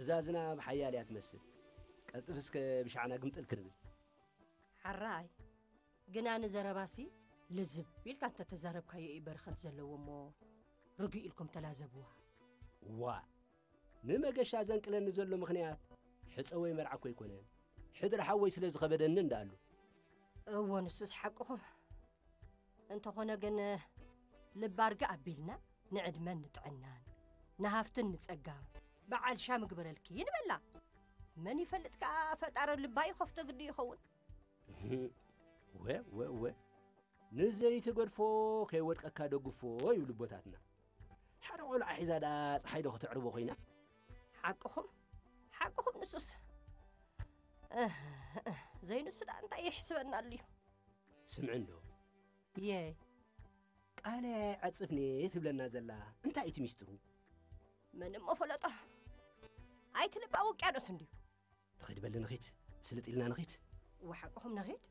እዛ ዝናብ ሓያል እያ ትመስል። ቀልጥፍ እስከ ብሻዕና ግምጥል ክንብል። ሓራይ፣ ግና ንዘረባሲ ልዝብ ኢልካ እንተተዛረብካዮ እዩ በረኸት ዘለዎ እሞ፣ ርግእ ኢልኩም ተላዘብዋ። ዋ፣ ንመገሻ ዘንቅለኒ ዘሎ ምኽንያት ሕጸ ወይ መርዓ እኮ ኣይኮነን። ሕድሪ ሓወይ ስለ ዝኸበደኒ እንዳኣሉ። እዎ፣ ንሱስ ሓቅኹም። እንተኾነ ግን፣ ልቢ ኣርግእ ኣቢልና ንዕድመን ንጥዕናን፣ ንሃፍትን ንጸጋም፣ በዓል ሻም ግበረልኪ ንበላ። መን ይፈልጥ ከኣ፣ ፈጣሪ ልባ ይኸፍቶ ግዲ ይኸውን። እህ፣ ወ፣ ወ፣ ወ። ንዘይትገድፎ ከይወድቀካ ደግፎ ይብሉ ኣቦታትና። ሓደ ቆልዓ ሒዛ ደኣ ጸሓይ ዶ ከተዕርቦ ኮይና? ሓቅኹም፣ ሓቅኹም ንሱስ። እህ፣ እህ፣ ዘይንሱ ደኣ እንታይ ይሕስበና ኣልዩ? ስምዒ እንዶ። የይ። ቃለ ዓጽፍኒ ትብለና ዘላ እንታይ እቲ ሚስጥሩ? መን እሞ ፈለጦ? ኣይትልባ ውቅያኖስ እንድዩ። ንኸይድ በሊ ንኺድ፣ ስልጥ ኢልና ንኺድ። ወሓቅኹም ንኺድ?